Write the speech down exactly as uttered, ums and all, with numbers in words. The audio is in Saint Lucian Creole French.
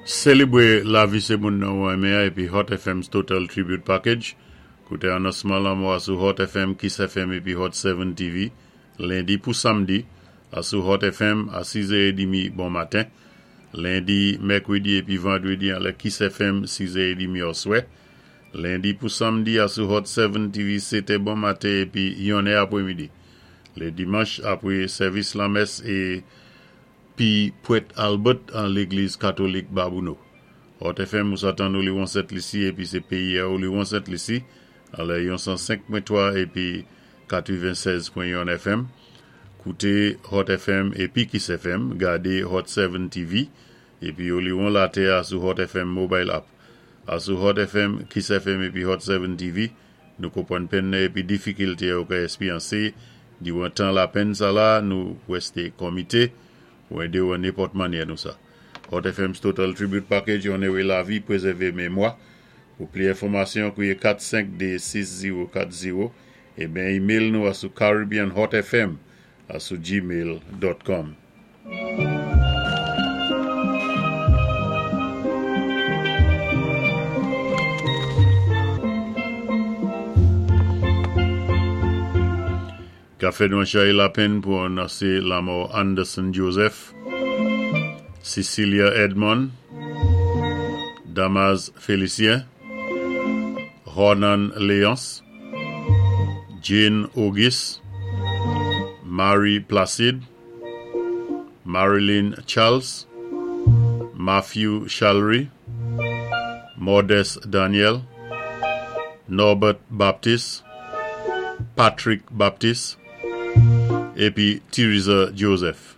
Sélébwé lavi sé moun nan ou enmen épi Hot F M's Total Tribute Package. Kouté anonsman lanmò sou Hot F M, Kiss F M épi Hot sept T V, lendi pou samdi, a sou Hot F M a sis è trant bon maten. Lendi, mèkwédi épi vandwédi anlè Kiss F M sis è trant oswè. Lendi pou samdi a sou Hot sept T V sétè bon maten épi yonnè apwémidi. Lé dimanch apwé sèvis lanmès épi Pwèt Albert an légliz katolik Babouno. Hot F M ou sa tann Oliwon Sent Lisi épi sé péyi a Oliwon Sent Lisi anlè yon san senk pwen twa épi katwennsèz pwen yon F M. Kouté Hot F M épi Kiss F M, gadé Hot sept T V épi Oliwon latè a sou Hot F M Mobile App. A sou Hot F M, Kiss F M épi Hot sept T V, nou konpwann penn épi difikilté ou ka éspéryansé diwan tan lapenn sa la, nou wèsté komité pou édé ou an nenpòt mannyè nou sa. Hot F M's Total Tribute Package, onoré lavi, pwézèvé mémwa. Pou plis enfòmasyon, kouwé kat senk de sis zewo kat zewo é ben email nou a sou caribbeanhotfm a sou gmail dot com. Ka fè nou chay lapenn pou anonsé lanmò Anderson Joseph, Cecilia Edmond, Damas Félicien, Ronan Léonce, Jane Auguste, Marie Placide, Marilyn Charles, Matthew Chalry, Modeste Daniel, Norbert Baptiste, Patrick Baptiste, épi Theresa Joseph.